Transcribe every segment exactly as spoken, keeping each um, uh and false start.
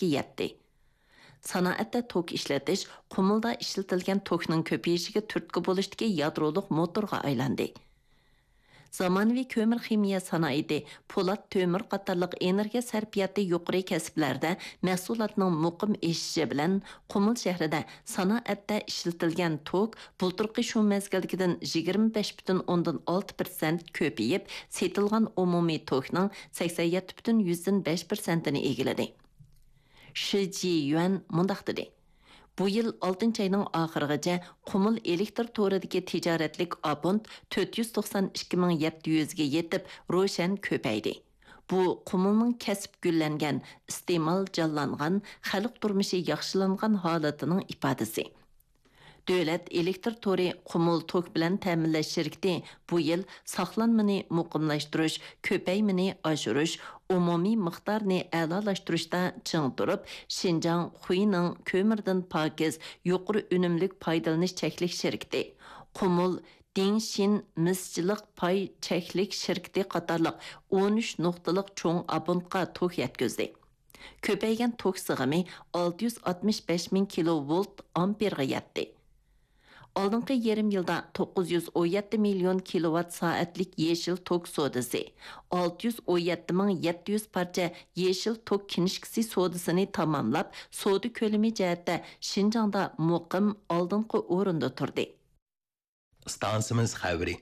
يەتتى. سانائەتتە توك ئىشلىتىش قۇمۇلدا ئىشلىتىلگەن توكنىڭ كۆپىيىشىگە تۈرتكە بولۇشتىكى يادرولۇق موتورغا ئايلاندى. زامانىۋى كۆمۈر خىمىيە سانائىتى، پولات، تۆمۈر قاتارلىق ئېنېرگىيە سەرپىياتى يۇقىرى كەسىپلەردە مەھسۇلاتنىڭ مۇقىم ئېشىشى بىلەن، قۇمۇل شەھىرىدە سانائەتتە ئىشلىتىلگەن توك بۇلتۇرقى شۇ مەزگىلدىكىدىن يىگىرمە بەش پۈتۈن ئوندىن ئالتە پىرسەنت كۆپىيىپ، سېتىلغان ئومۇمىي توكنىڭ سەكسەن يەتتە پۈتۈن يۈزدىن بەش پىرسەنتىنى ئىگىلىدى. شى جىيۈەن مۇنداق دېدى: بۇ يىل ئالتىنچى ئاينىڭ ئاخىرىغىچە قۇمۇل ئېلېكتر تورىدىكى تىجارەتلىك ئابونت تۆت يۈز توقسان ئىككى مىڭ يەتتە يۈزگە يېتىپ، روشەن كۆپەيدى. بۇ قۇمۇلنىڭ كەسىپ گۈللەنگەن، ئىستېمال جانلانغان، خەلق تۇرمۇشى ياخشىلانغان ھالىتىنىڭ ئىپادىسى. دۆلەت ئېلېكتر تورى قۇمۇل توك بىلەن تەمىنلەش شىركىتى بۇ يىل ساقلانمىنى مۇقىملاشتۇرۇش، كۆپەيمىنى ئاشۇرۇش، ئومۇمىي مىقدارنى ئەلالاشتۇرۇشتا چىڭ تۇرۇپ، شىنجاڭ خۇينىڭ كۆمۈردىن پاكىز، يۇقىرى ئۈنۈملۈك پايدىلىنىش چەكلىك شىركىتى، قۇمۇل دىڭشىن مىسچىلىق پاي چەكلىك شىركىتى قاتارلىق ئون ئۈچ نۇقتىلىق چوڭ ئابونتقا توك يەتكۈزدى. كۆپەيگەن توك سىغىمى ئالتە يۈز ئاتمىش بەش مىڭ كىلوۋولت ئامپېرغا يەتتى. ئالدىنقى يېرىم يىلدا توققۇز يۈز ئون يەتتە مىليون كىلوۋات سائەتلىك يېشىل توك سودىسى، ئالتە يۈز ئون يەتتە مىڭ يەتتە يۈز پارچە يېشىل توك كىنىشكىسى سودىسىنى تاماملاپ، سودا كۆلىمى جەھەتتە شىنجاڭدا مۇقىم ئالدىنقى ئورۇندا تۇردى. ئىستانسىمىز خەۋىرى.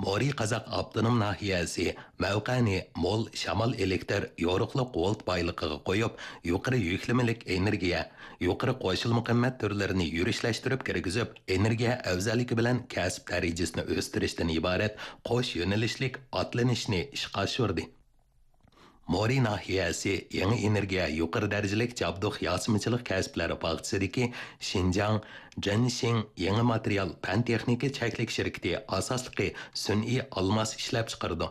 مورى قازاق ئاپتونوم ناھىيەسى مەۋقەنى مول شامال ئېلېكتر يورۇقلۇق ۋولت بايلىقىغا قويۇپ، يۇقىرى يۈكلىمىلىك ئېنېرگىيە، يۇقىرى قوشۇلما قىممەت تۈرلىرىنى يۈرۈشلەشتۈرۈپ كىرگۈزۈپ، ئېنېرگىيە ئەۋزەللىكى بىلەن كەسىپ دەرىجىسىنى ئۆستۈرۈشتىن ئىبارەت قوش يۆنىلىشلىك ئاتلىنىشنى ئىشقا ئاشۇردى. مورى ناھىيەسى يېڭى ئېنېرگىيە يۇقىرى دەرىجىلىك جابدۇق ياسىمىچىلىق كەسىپلەر باغچىسىدىكى شىنجاڭ جېنشىڭ يېڭى ماتېرىيال پەن تېخنىكا چەكلىك شىركىتى ئاساسلىقى سۈنئىي ئالماس ئىشلەپچىقىرىدۇ.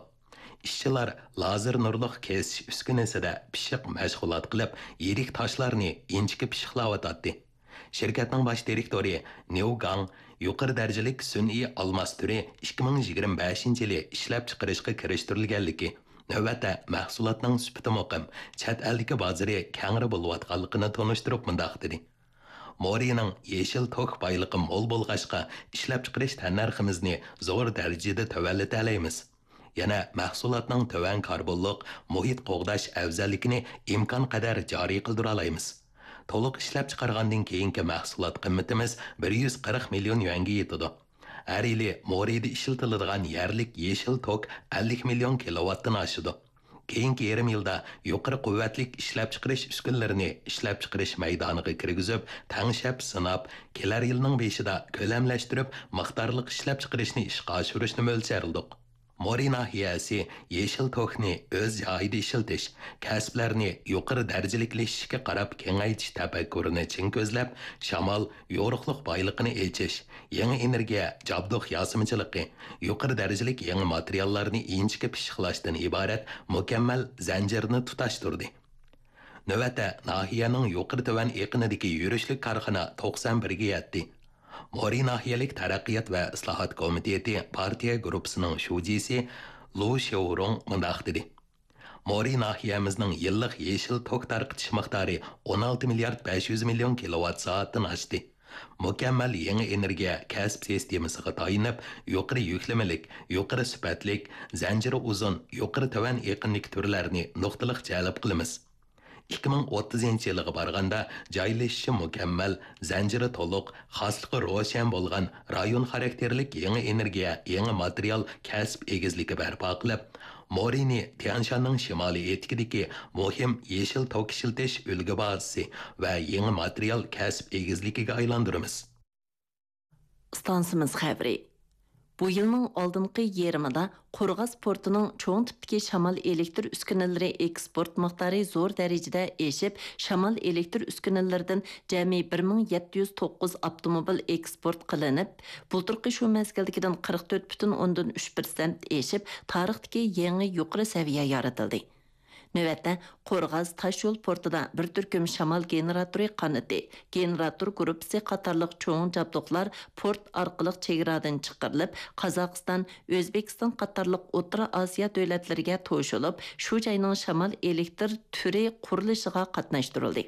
ئىشچىلار لازېر نۇرلۇق كېسىش ئۈسكۈنىسىدە پىششىق مەشغۇلات قىلىپ، يىرىك تاشلارنى ئىنچىكە پىششىقلاۋاتاتتى. شىركەتنىڭ باش دىرېكتورى نيۇ گاڭ يۇقىرى دەرىجىلىك سۈنئىي ئالماس تۈرى ئىككى مىڭ يىگىرمە بەشىنچى يىلى ئىشلەپچىقىرىشقا كىرىشتۈرۈلگەنلىكى، نۆۋەتتە مەھسۇلاتنىڭ سۈپىتى مۇقىم، چەت ئەلدىكى بازىرى كەڭرى بولۇۋاتقانلىقىنى تونۇشتۇرۇپ مۇنداق دېدى: مورىنىڭ يېشىل توك بايلىقى مول بولغاچقا، ئىشلەپچىقىرىش تەننەرخىمىزنى زور دەرىجىدە تۆۋەنلىتەلەيمىز. يەنە مەھسۇلاتنىڭ تۆۋەن كاربونلۇق مۇھىت قوغداش ئەۋزەللىكىنى ئىمكانقەدەر جارى قىلدۇرالايمىز. تولۇق ئىشلەپچىقارغاندىن كېيىنكى مەھسۇلات قىممىتىمىز بىر يۈز قىرىق مىليون يۈەنگە يېتىدۇ. ھەر يىلى مورىدا ئىشلىتىلىدىغان يەرلىك يېشىل توك ئەللىك مىليون كىلوۋاتتىن ئاشىدۇ. كېيىنكى يېرىم يىلدا يۇقىرى قۇۋۋەتلىك ئىشلەپچىقىرىش ئۈسكۈنىلىرىنى ئىشلەپچىقىرىش مەيدانىغا كىرگۈزۈپ، تەڭشەپ سىناپ، كېلەر يىلنىڭ بېشىدا كۆلەملەشتۈرۈپ، مىقدارلىق ئىشلەپچىقىرىشنى ئىشقا ئاشۇرۇشنى مۆلچەرلىدۇق. مورى ناھىيەسى يېشىل توكنى ئۆز جايىدا ئىشلىتىش، كەسىپلەرنى يۇقىرى دەرىجىلىكلىشىشكە قاراپ كېڭەيتىش تەپەككۇرىنى چىڭ كۆزلەپ، شامال، يورۇقلۇق بايلىقىنى ئېچىش، يېڭى ئېنېرگىيە، جابدۇق ياسىمىچىلىقى، يۇقىرى دەرىجىلىك يېڭى ماتېرىياللارنى ئىنچىكە پىششىقلاشتىن ئىبارەت مۇكەممەل زەنجىرنى تۇتاشتۇردى. نۆۋەتتە، ناھىيەنىڭ يۇقىرى تۆۋەن ئېقىنىدىكى يۈرۈشلۈك كارخانا توقسان بىرگە يەتتى. مورى ناھىيەلىك تەرەققىيات ۋە ئىسلاھات كومىتېتى پارتىيە گۇرۇپپىسىنىڭ شۇجىسى لۇ شياۋرۇڭ مۇنداق دېدى: مورى ناھىيەمىزنىڭ يىللىق يېشىل توك تارقىتىش مىقدارى ئون ئالتە مىليارد بەش يۈز مىليون كىلوۋات سائەتتىن ئاشتى. مۇكەممەل يېڭى ئېنېرگىيە كەسىپ سىستېمىسىغا تايىنىپ، يۇقىرى يۈكلىمىلىك، يۇقىرى سۈپەتلىك، زەنجىرى ئۇزۇن، يۇقىرى تۆۋەن ئېقىنلىك تۈرلەرنى نۇقتىلىق جەلپ قىلىمىز. ئىككى مىڭ ئوتتۇزىنچى يىلغا بارغاندا، جايلىشىشى مۇكەممەل، زەنجىرى تولۇق، خاسلىقى روشەن بولغان رايون خاراكتېرلىك يېڭى ئېنېرگىيە، يېڭى ماتېرىيال كەسىپ ئېگىزلىكى بەرپا قىلىپ، مورىنى تيەنشاننىڭ شىمالىي ئېتىكىدىكى مۇھىم يېشىل توك ئىشلىتىش ئۈلگە بازىسى ۋە يېڭى ماتېرىيال كەسىپ ئېگىزلىكىگە ئايلاندۇرىمىز. ئىستانسىمىز خەۋىرى. بۇ يىلنىڭ ئالدىنقى يېرىمىدا قورغاس پورتىنىڭ چوڭ تىپتىكى شامال ئېلېكتر ئۈسكۈنىلىرى ئېكسپورت مىقدارى زور دەرىجىدە ئېشىپ، شامال ئېلېكتر ئۈسكۈنىلىرىدىن جەمئىي بىر مىڭ يەتتە يۈز توققۇز ئاپتوموبىل ئېكسپورت قىلىنىپ، بۇلتۇرقى شۇ مەزگىلدىكىدىن قىرىق تۆت پۈتۈن ئوندىن ئۈچ پىرسەنت ئېشىپ، تارىختىكى يېڭى يۇقىرى سەۋىيە يارىتىلدى. نۆۋەتتە، قورغاس تاشيول پورتىدا بىر تۈركۈم شامال گېنېراتورى قانىتى، گېنېراتور گۇرۇپپىسى قاتارلىق چوڭ جابدۇقلار پورت ئارقىلىق چېگرادىن چىقىرىلىپ، قازاقىستان، ئۆزبېكىستان قاتارلىق ئوتتۇرا ئاسىيا دۆلەتلىرىگە توشۇلۇپ، شۇ جاينىڭ شامال ئېلېكتر تۈرى قۇرۇلۇشىغا قاتناشتۇرۇلدى.